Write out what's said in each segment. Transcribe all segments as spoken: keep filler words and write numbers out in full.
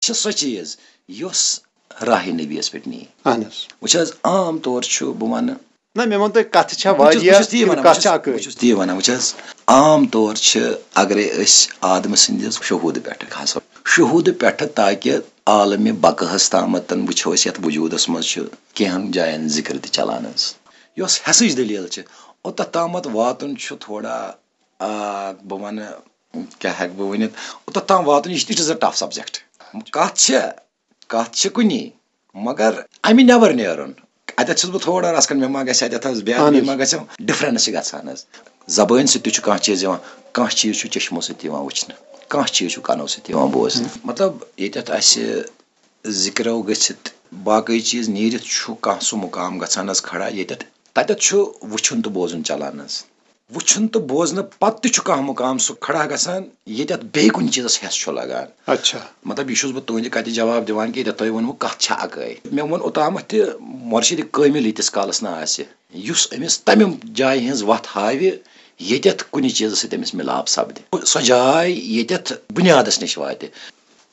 چھِ سۄ چیٖز یۄس راہ نبی یس پٮ۪ٹھ نی۔ اہن حظ۔ وٕچھ حظ، عام طور چھُ بہٕ ونہٕ نہ، مےٚ ووٚن تۄہہِ، کتھٕ چھےٚ بہٕ چھُس- بہٕ واریاہ، چھُس تی ونان، کتھ بہٕ چھےٚ چھُس- اکٲے۔ بہٕ چھُس تی ونان، وٕچھ حظ، عام طور چھِ، اگرے أسۍ آدمہٕ سٕنٛدِس شہوٗدٕ پٮ۪ٹھٕ کھسو، شہوٗدٕ پٮ۪ٹھٕ تاکہِ عالمِ بقہس تامتن وٕچھو أسۍ، یتھ وجوٗدس منٛز چھُ کینٛہن جاین ذکر تہِ چلان حظ۔ یۄس ہٮ۪سٕچ دٔلیٖل چھِ، اوٚتتھ تامتھ واتُن چھُ تھوڑا، آ، بہٕ ونہٕ، کیٛاہ ہٮ۪کہٕ بہٕ ؤنِتھ، اوٚتتھ تام واتُن، یہِ چھِ، it is a tough subject۔ کتھ چھِ، کتھ چھِ کُنی، مگر امہِ نٮ۪بر نیرُن، اتٮ۪تھ چھُس بہٕ تھوڑا رژھ کھنڈ، مےٚ ما گژھِ اتٮ۪تھ حظ بے اہن ادبی حظ۔ ما گژھِ، ڈفرنس چھِ گژھان حظ۔ زبٲنۍ سۭتۍ تہِ چھُ کانٛہہ چیٖز یِوان، کانٛہہ چیٖز چھُ چشمو سۭتۍ یِوان وٕچھنہٕ، کانٛہہ چیٖز چھُ کنو سۭتۍ یِوان بوزنہٕ۔ مطلب، ییٚتٮ۪تھ اسہِ ذکرو گٔژھِتھ باقٕے چیٖز نیٖرِتھ چھُ کانٛہہ سُہ مُقام گژھان حظ کھڑا، ییٚتٮ۪تھ، تتٮ۪تھ چھُ وٕچھُن تہٕ بوزُن چلان حظ۔ وٕچھُن تہٕ بوزنہٕ پتہٕ تہِ چھُ کانٛہہ مُقام سُہ کھڑا گژھان، ییٚتٮ۪تھ بیٚیہِ کُنہِ چیٖزس ہٮ۪س چھُ لگان۔ اچھا۔ مطلب، یہِ چھُس بہٕ تُہنٛدِ کتھِ جواب دِوان کہِ ییٚتٮ۪تھ تۄہہِ ووٚنوٕ، کتھ چھےٚ اکٲے۔ مےٚ ووٚن اوٚتامتھ تہِ، مرشد کٲمل ییٖتِس کالس نہٕ آسہِ، یُس أمِس تمہِ جایہِ ہٕنٛز وتھ ہاوِ، ییٚتٮ۪تھ کُنہِ چیٖزس سۭتۍ أمِس مِلاپ سپدِ، سۄ جاے ییٚتٮ۪تھ بُنیادس نِش واتہِ۔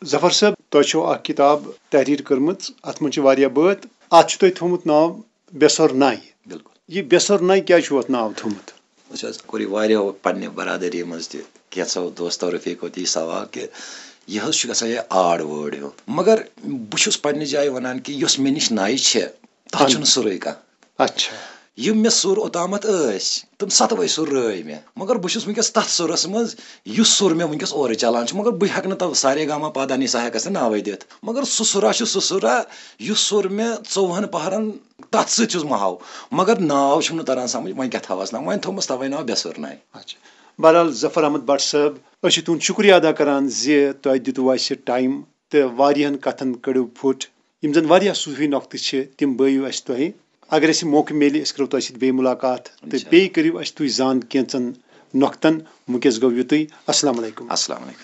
ظفر صٲب، تۄہہِ چھو اکھ کِتاب تحریر کٔرمٕژ، اتھ منٛز چھِ واریاہ بٲتھ۔ اتھ چھُ تۄہہِ تھوٚومُت ناو بے سۄر ناے۔ بِلکُل۔ یہِ بے سۄر ناے کیٛازِ چھُو اتھ ناو تھوٚومُت؟ وٕچھ حظ، کوٚر یہِ واریاہو پننہِ برادری منٛز تہِ، کینٛژھو دوستو رفیقو تہِ یہِ سوال کہِ یہِ حظ چھُ گژھان یہِ odd word ہیوٗ۔ مگر بہٕ چھُس پننہِ جایہِ ونان کہِ یۄس مےٚ نِش ناے چھِ، تتھ اہن۔ چھُنہٕ سُرُے کانٛہہ۔ اچھا۔ یِم مےٚ سُر اوٚتامتھ ٲسۍ، تِم ستوے سُر رٲوۍ مےٚ۔ مگر بہٕ چھُس وٕنکیٚس تتھ سُرس منٛز، یُس سُر مےٚ وٕنکیٚس اورٕ چلان چھُ۔ مگر بہٕ ہٮ۪کہٕ نہٕ تتھ سارے گاما پادا نی سا ہٮ۪کس نہٕ ناوے دِتھ۔ مگر سُہ سُرا چھُ سُہ سُرا، یُس سُر مےٚ ژوٚوُہن پہرن تتھ سۭتۍ چھُس مہاو۔ مگر ناو چھُم نہٕ تران سمجھ، وۄنۍ کیٛاہ تھاوس ناو؟ وۄنۍ تھوٚومس توے ناو بے سُر ناے۔ اچھا۔ بہرحال، ظفر احمد بٹ صٲب، أسۍ چھِ تُہُنٛد شُکریہ ادا کران زِ تۄہہِ دِتوُ اَسہِ ٹایم تہٕ واریاہن کتھن کٔڑِو پھُٹ۔ یِم زن واریاہ صوٗفی نۄقطہٕ چھِ، تِم بٲیِو اَسہِ تۄہہِ۔ اگر اَسہِ موقعہٕ میلہِ، أسۍ کرو تۄہہِ سۭتۍ بیٚیہِ مُلاقات تہٕ انشاءاللہ۔ بیٚیہِ کٔرِو اَسہِ تُہۍ زان کینٛژن نۄقطن۔ وٕنکیٚس گوٚو یُتُے۔ السلام علیکم۔ السلام علیکم۔